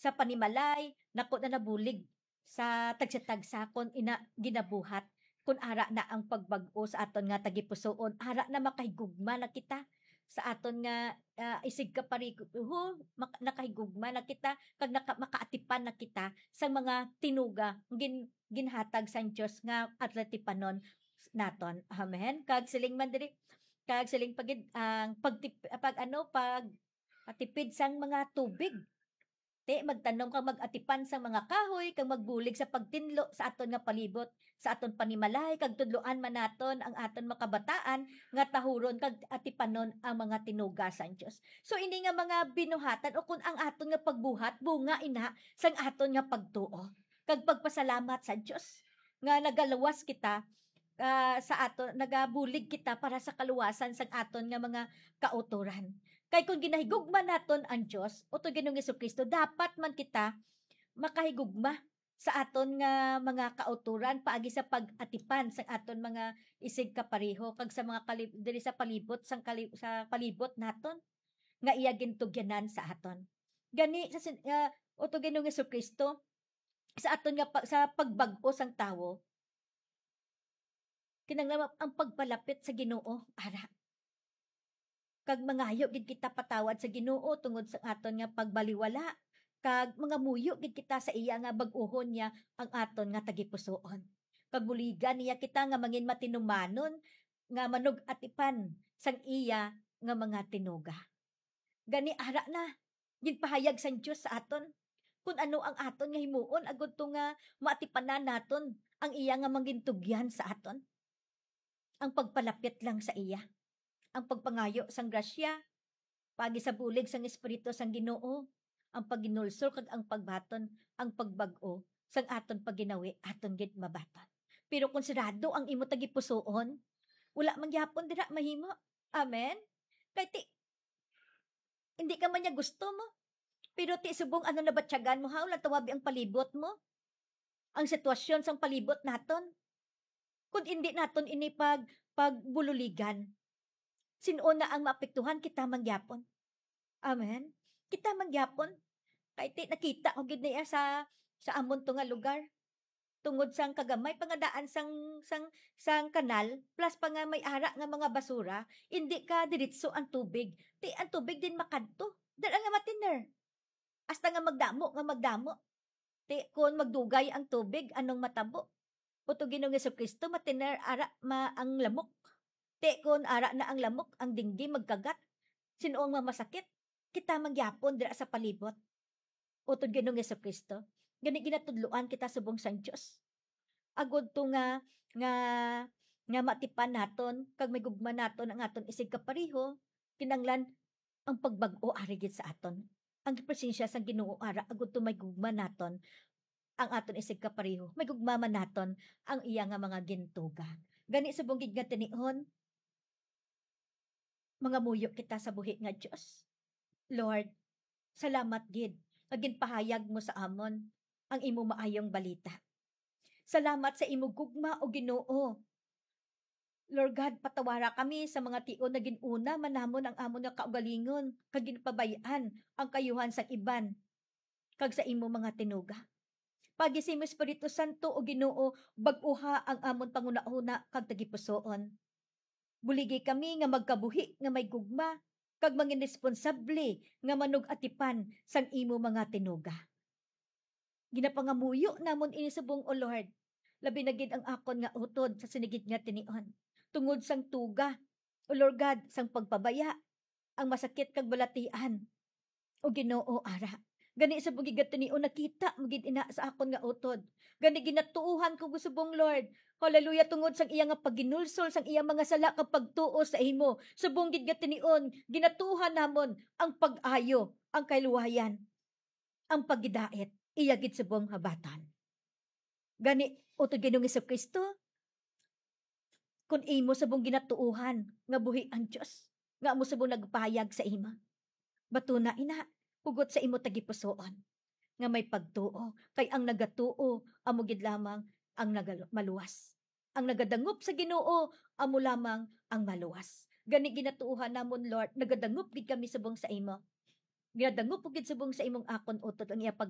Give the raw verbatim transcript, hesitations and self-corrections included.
sa panimalay, nako na nabulig sa tagsa-tagsa kon ina ginabuhat, kon ara na ang pagbag-o sa aton nga tagipusoon, ara na makahigugma na kita sa aton nga, ah, isig kapariho, mak-, nakahigugma na kita, kag naka-, makaatipan na kita sa mga tinuga nga gin-, ginhatag sang Dios nga atipanon naton. Amen. Kag siling man diri, kag siling pa gid ang pagtip-, pag ano, pag, pagtipid sang mga tubig. Ti, magtanom kag mag-atipan sang mga kahoy, kag magbulig sa pagtinlo sa aton nga palibot, sa aton panimalay, kag tudloan man naton ang aton mga kabataan nga tahuron kag atipanon ang mga tinuga sang Dios. So, ini nga mga binuhatan, o kun ang aton nga pagbuhat, bunga ina sang aton nga pagtuo kag pagpasalamat sa Dios nga nagaluwas kita, ah, sa aton, nagabulig kita para sa kaluwasan sang aton nga mga kautoran. Kay kon ginahigugma naton ang Dios, utod Ginoong Jesu-Cristo, dapat man kita makahigugma sa aton nga mga kautoran paagi sa pag-atipan sang aton mga isig kapareho kag sa mga kalib-, diri sa palibot sang kali-, sa palibot naton nga iya gintugyanan sa aton. Gani sa sin-, ah, utod Ginoong Jesu-Cristo, sa aton nga pa-, sa pagbag-o sang tawo, kinahanglan ang pagpalapit sa Ginoo, ara. Kag mangayo gid kita patawad sa Ginoo tungod sa aton nga pagbaliwala, kag mangamuyo gid kita sa iya nga bag-ohon niya ang aton nga tagipusoon. Kag buligan niya kita nga mangin matinumanon nga manug-atipan sang iya nga mga tinuga. Gani, ara na, ginpahayag sang Dios sa aton kon ano ang aton nga himuon agud to nga maatipanan naton ang iya nga mangintugyan sa aton. Ang pagpalapit lang sa iya, ang pagpangayo sang grasya, paagi sa bulig sang Espiritu sang Ginoo, ang paghinulsol kag ang pagbaton, ang pagbag-o sang aton pagginawi aton gid mabaton. Pero kung sirado ang imo tagipusoon, wala man gyapon dira mahimo. Amen? Kay ti, hindi ka man niya gusto mo. Pero ti subong ano nabatyagan mo, ha? Wala tawabi ang palibot mo. Ang sitwasyon sang palibot naton. Kung hindi naton ini pag-, pagbululigan, sin-o na ang maapektuhan? Kita man gyapon. Amen? Kita man gyapon. Kay ti nakita ko gid niya sa, sa amon to nga lugar. Tungod sang kagamay pa nga daan sang, sang, sang kanal, plus pa nga may ara nga mga basura, indi ka diretso ang tubig. Ti ang tubig din makadto. Dala nga matiner. Hasta nga magdamo, nga magdamo. Ti kon magdugay ang tubig, anong matabo? Utod Ginoong Jesu-Cristo, matiner ara ma-, ang lamok. Ti kon ara na ang lamok, ang dengue magkagat. Sin-o ang mamasakit? Kita man gyapon dira sa palibot. Utod Ginoong Jesu-Cristo, gani ginatudloan kita subong sang Dios. Agud to nga, nga, nga matipan naton, kag may gugma naton ang aton isig kapareho, kinanglan ang pagbag-o ari gid sa aton. Ang presensya sang Ginoo ara, agud to may gugma naton ang aton isig kapareho, may gugma man naton ang iya nga mga gintuga. Gani subong gid nga tinion, mangamuyo kita sa buhi nga Dios. Lord, salamat gid nga ginpahayag mo sa amon ang imo maayong balita. Salamat sa imo gugma, O Ginoo. Lord God, patawara kami sa mga tion nga gin-una man namon ang amon nga kaugalingon kag ginpabay-an ang kaayuhan sang iban kag sa imo mga tinuga. Paagi sa imo Espiritu Santo, O Ginoo, bag-oha ang amon panghunahuna kag tagipusoon. Buligi kami nga magkabuhi nga may gugma kag mangin responsable nga manug-atipan sang imo mga tinuga. Ginapangamuyo namon ini subong, O Lord, labi na gid ang akon nga utod sa sini gid nga tinion, tungod sang tuga, O Lord God, sang pagpabaya, ang masakit kag balatian. O Ginoo, ara. Gani subong gid nga tinion, nakita mo gid ina sa akon nga utod. Gani ginatuohan ko subong, Lord. Hallelujah, tungod sang iya nga paghinulsol sang iya mga sala kag pagtuo sa imo. Subong gid nga tinion, ginatuohan namon ang pag-ayo, ang kaluwayan, ang paghidait, iya gid subong nga baton. Gani, utod Ginoong Jesu-Cristo, kun imo subong ginatuohan nga buhi ang Dios, nga amo subong nagpahayag sa imo, batuna ina, hugot sa imo tagipusoon nga may pagtuo, kay ang nagatuo amo gid lamang ang nagal-, maluwas. Ang nagadangop sa Ginoo amo lamang ang maluwas. Gani ginatuohan namon, Lord, nagadangop gid kami subong sa imo. Ginadangop ko gid subong sa imong akon utod ang iya pag